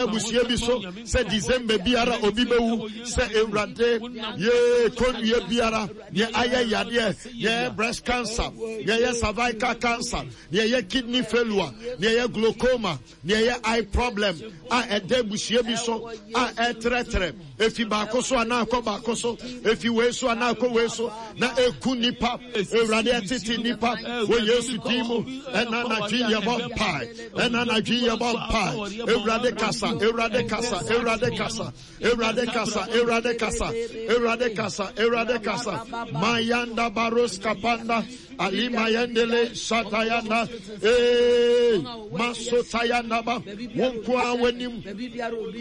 Abusua bi so sɛ December biara obi bɛwu sɛ Awurade yee kɔnnua biara nea ayɛ yadeɛ nea ɛyɛ breast cancer nea ɛyɛ cervical cancer nea ɛyɛ kidney failure nea ɛyɛ glaucoma nea ɛyɛ eye problem a ɛda abusua bi so a ɛtrɛtrɛ efi baako so anaa akɔ baako so efi wei so anaa akɔ wei so na eku nipa Awurade ɛtete nipa wɔ Yesu din mu ɛna anadwo yɛbɔ mpae. Ɛna anadwo yi yɛbɔ mpae. Awurade kasa, Awurade kasa, Awurade kasa, Awurade kasa, Awurade kasa, Awurade kasa, Awurade kasa. Mayanda baros kapanda, Ali mayendele satayanda, ee masotayanda ba. Wonkoa w'anim,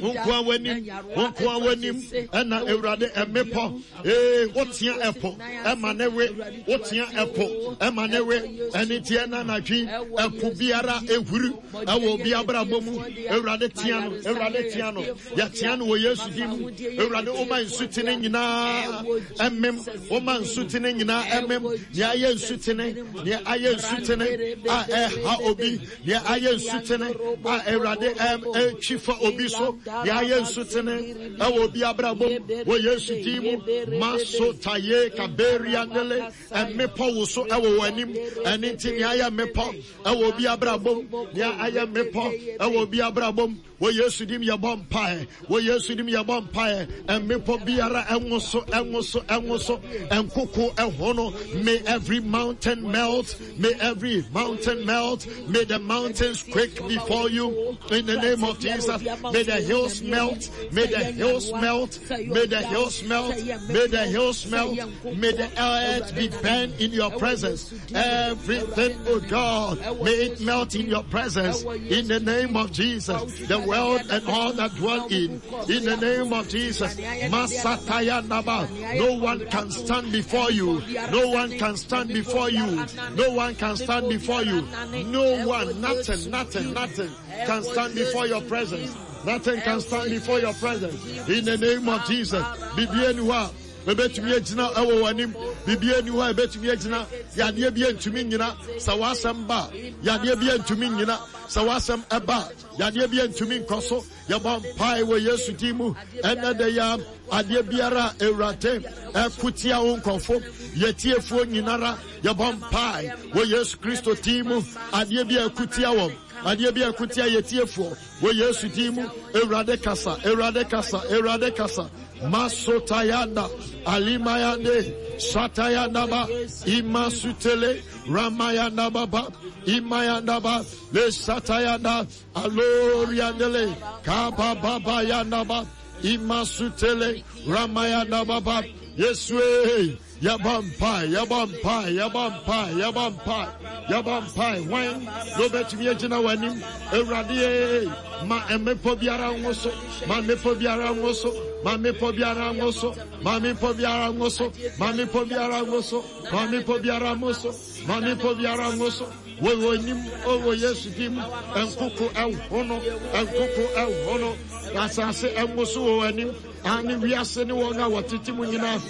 wonkoa w'anim, wonkoa w'anim. Ɛna Awurade ɛmepɔ, ee wotea ɛpo, ɛma ne we. Wotea ɛpo ɛma ne we ɛne nti ɛna anadwi ɛpo biara ehuri ɛwɔ obi abrabɔ mu Awurade tea no Awurade tea no yɛtea no wɔ Yesu din mu Awurade woma nsutene nyinaa ɛmem woma nsutene nyinaa ɛmem nea ayɛ nsutene nea ayɛ nsutene a ɛha obi Nea ayɛ nsutene a Awurade ɛtwi fa obi so, nea ayɛ nsutene ɛwɔ obi abrabɔ mu wɔ Yesu din mu. Masotaye kaberiandele mmepɔ woso ɛwɔ wɔn anim. Ɛne nti nea ayɛ mmepɔ ɛwɔ obi abrabɔ mu, nea ayɛ mmepɔ ɛwɔ obi abrabɔ mu wɔ Yesu dim yɛbɔ mpae. Wɔ Yesu dim yɛbɔ mpae. Mmepɔ biara ɛnwoso ɛnwoso ɛnwoso ɛnkoko ɛhono. May every mountain melt. May every mountain melt. May the mountains quake before you. In the name of Jesus. May the hills melt. May the hills melt. May the hills melt. May the hills melt. May the earth be burned in your presence. Everything, oh God, may it melt in your presence. In the name of Jesus. The world and all that dwell in. In the name of Jesus. Masataya Naba. No one can stand before you. No one can stand before you. No one can stand before you. No one, nothing, nothing, nothing can stand before your presence. Nothing can stand before your presence. In the name of Jesus. Bibienua. Ebetumi agyina ɛwɔ w'anim. Biribi ani hɔ a ebetumi agyina. Yadeɛ bi ntumi nyina. Sɛ w'asɛm ba, yadeɛ bi ntumi nyina. Sɛ w'asɛm ɛba, yadeɛ bi ntumi nkɔ so. Yɛbɔ mpae wɔ Yesu din mu. Ɛnɛ da yi ara, adeɛ biara a Awurade ɛko tia wo nkurɔfo, yɛtiefoɔ nyinara, yɛbɔ mpae wɔ Yesu Kristo din mu. Adeɛ bi a ɛko tia wɔn, adeɛ bi a ɛko tia yɛtiefoɔ wɔ Yesu din mu. Awurade kasa, Awurade kasa, Awurade kasa. Masotayanda, Alimayande, Satayanda ba, Imasutele, Ramayanda baba, Imayanda ba, Le Satayanda, Aloriandele, Kabababa Yandaba, Imasutele, Ramayanda Baba, Yesue, Yabampai, Yabampai, Yabampai, Yabampai, Yabampai, Wine, no betumi agyina w'anim, Awurade, ma mmepɔ biara nwo so, ma mmepɔ biara nwo so, ma mmepɔ biara nwo so, ma mmepɔ biara nwo so, ma mmepɔ biara nwo so, ma mmepɔ biara nwo so, ma mmepɔ biara nwo so. Wɔ w'anim, o wɔ Yesu din mu, nkoko ɛhono, nkoko ɛhono, asase ɛnwoso wɔ w'anim, ane wiase ne wɔn a wɔtete mu nyinaa,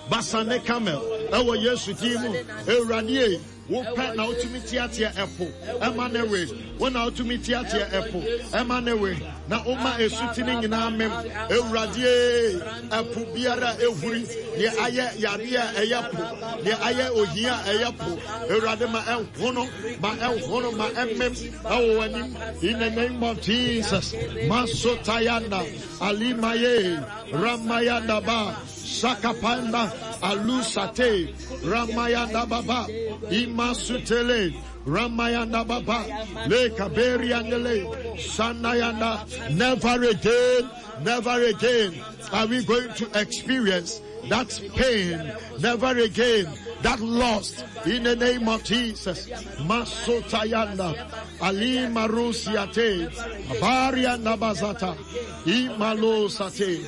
Basan ne Kamel, ɛwɔ Yesu din mu, Awurade wopɛ na wotumi teatea ɛpo ɛma ne we, wo na wotumi teatea ɛpo ɛma ne we, na woma esuti ne nyinaa mem, Awurade ɛpo biara ehuri, deɛ ayɛ yadeɛ a ɛyɛ po, deɛ ayɛ ohia a ɛyɛ po, Awurade ma ɛnhono, ma ɛnhono, ma ɛmem ɛwɔ w'anim. In the name of Jesus, Masotayanda, Alimaye, Ramayanda Ba, Sakapanda, Alusate, Ramayanda Baba, Imasutele, Ramayanda Baba, Le Kaberiandele, Sanayanda. Never again, never again are we going to experience that pain, never again, that loss, in the name of Jesus. Masotayanda, Ali Marusiate, Abarianda Bazata, Imalo Sate,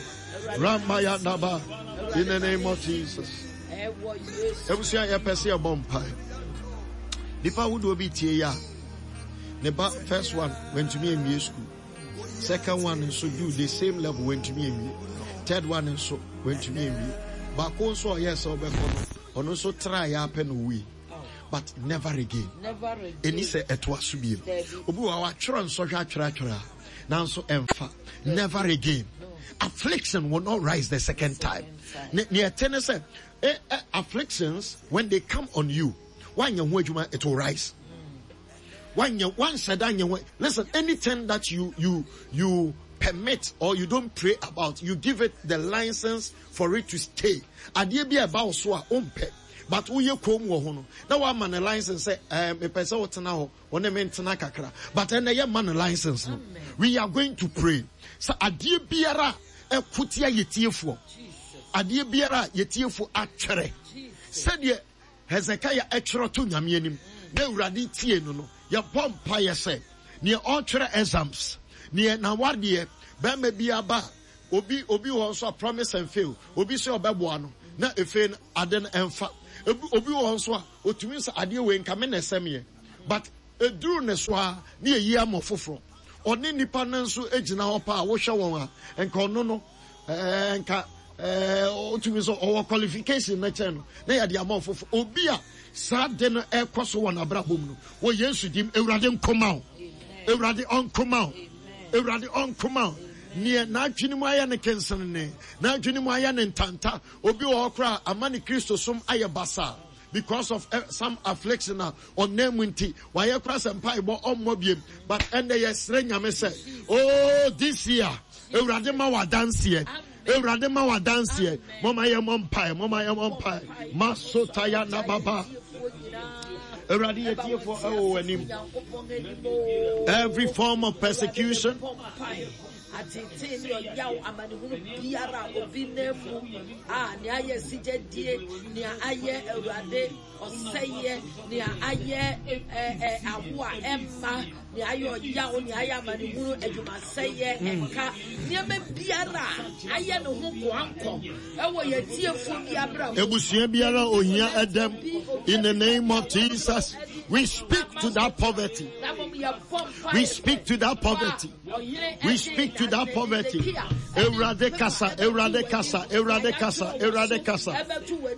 Ramayanda Ba, in the name of Jesus. Ebusua yɛpɛ sɛ yɛbɔ mpae. Nipa ahodoɔ bi tie yi a, ne ba first one wantumi anwie school. Second one nso do the same level wantumi anwie. Third one nso wantumi anwie. Baako nso a ɔyɛɛ sɛ ɔbɛkɔ no, ɔno nso traa yɛ apɛ na owui. But never again. Ɛni sɛ ɛtoa so bio. Obi wɔ hɔ a watwerɛ nsɔhwɛ atwerɛ atwerɛ a. Nanso ɛmfa. Never again. Affliction will not rise the second time. Ne ɛte ne sɛ eh, eh, afflictions when they come on you, wanyɛ ho adwuma it will rise. Wanyɛ wanhyɛ da nyɛ ho. Listen, anything that you you you permit or you don't pray about, you give it the license for it to stay. Adeɛ bi a ɛba wo so a wompɛ but woyɛ koom wɔ ho no na woama no license sɛ eh, mepɛ sɛ wotena hɔ wo ne me ntena kakra but ɛnɛ yɛ ma no license no. We are going to pray sɛ adeɛ biara a ɛko tia yɛtiefoɔ, adeɛ biara a yɛtiefoɔ atwerɛ sɛdeɛ Hezekiah twerɛ to Nyame anim na Awurade tie no no, yɛbɔ mpaeɛ sɛ neɛ ɔretwerɛ exams, neɛ n'awadeɛ, bɛrima bi aba a, obi obi wɔ hɔ nso a promise and fail, obi sɛ ɔbɛboa no na efei no ade no ɛmfa. Ebi obi wɔ hɔ nso a otumi sɛ adeɛ wei nka me na ɛsɛ meɛ but eduru ne so a ne yɛyi ama foforɔ. Ɔne nipa no nso gyina hɔ paa wohwɛ wɔn a nka ɔno no ɛɛ nka ɛɛ otumi sɛ ɔwɔ qualification no kyɛn no na yɛde ama ɔfoforo. Obi a saa de no ɛkɔ so wɔ n'abrabɔ mu no wɔ Yesu dim, Awurade nkoma o, Awurade ɔnkoma o, Awurade ɔnkoma o. Neɛ n'adwene mu ayɛ ne kensenene, n'adwene mu ayɛ ne ntanta, obi wɔ hɔ koraa ama ne Kristosom ayɛ basaa because of eh, some affliction a ɔnam mu nti wayɛ koraa sɛ mpaebɔ ɔmmɔ biem, but ɛnɛ yɛsrɛ Nyame sɛ oh this year Awurade ma w'adanseɛ, Awurade ma w'adanseɛ. Mɔma yɛ mɔ mpae, mɔma yɛ mɔ mpae. Masotaya na baba. Awurade yɛ tiefoɔ ɛwɔ w'anim. Every form of persecution. Ateetee ne ɔyaw, amanehunu biara a obi nam mu a, nea ayɛ sigyadie, nea ayɛ Awurade ɔsɛeɛ, nea ayɛ ɛɛ awo a ɛmma, nea ayɛ ɔyaw, nea ayɛ amanehunu, adwumasɛeɛ, ɛka, nneɛma biara a ayɛ ne ho koankɔ ɛwɔ yɛn tiefoɔ bi abrabɔ. Ebusua biara ohia ɛdɛm in the name of Jesus. We speak to that poverty. We speak to that poverty. We speak to that poverty. Ewurade kasa, Ewurade kasa, Ewurade kasa, Ewurade kasa.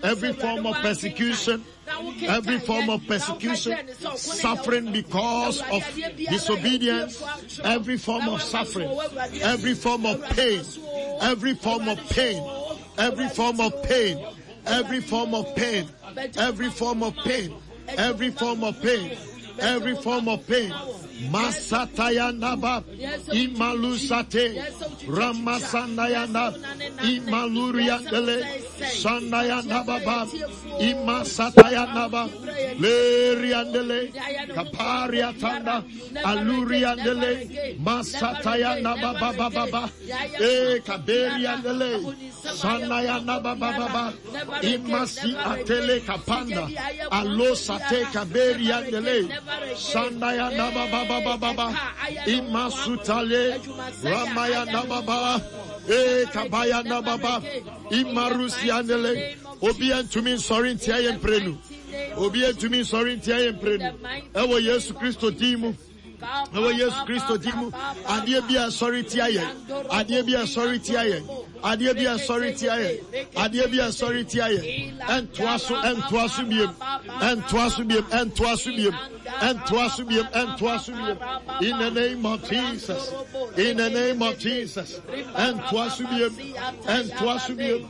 Every form of persecution, every form of persecution, suffering because of disobedience, every form of suffering, every form of pain, every form of pain, every form of pain, every form of pain, every form of pain, every form of pain, every form of pain. Masatayandaba, Imalusate, Ramasandayanda, Imaluriandele, Sandayandababa, Imasatayandaba, Leriandele, Kapariatanda, Aluriandele, Masatayandaba Baba, E Kaberiandele, Sanayana Baba Baba, Imasi Atele Kapanda, Alosate Kaberiandele, Sandayana Baba Baba Baba, Imasutale, Ramayana Baba, E Kabayana Baba, Imarusiandele, Obi antumi nsɔre ntia yɛn mprenu. Obi antumi nsɔre ntia yɛn mprenu. Ɛwɔ Yesu Kristo din mu. Ɛwɔ Yesu Kristo din mu. Adeɛ bi a ɛsɔre tia yɛn. Adeɛ bi a ɛsɔre tia yɛn. Adeɛ bi a ɛsɔre tia yɛn. Adeɛ bi a ɛsɔre tia yɛn. Ɛntoa so, ɛntoa so biem. Ɛntoa so biem, ɛntoa so biem. Ɛntoa so biem, ɛntoa so biem. In the name of Jesus. In the name of Jesus. Ɛntoa so biem. Ɛntoa so biem.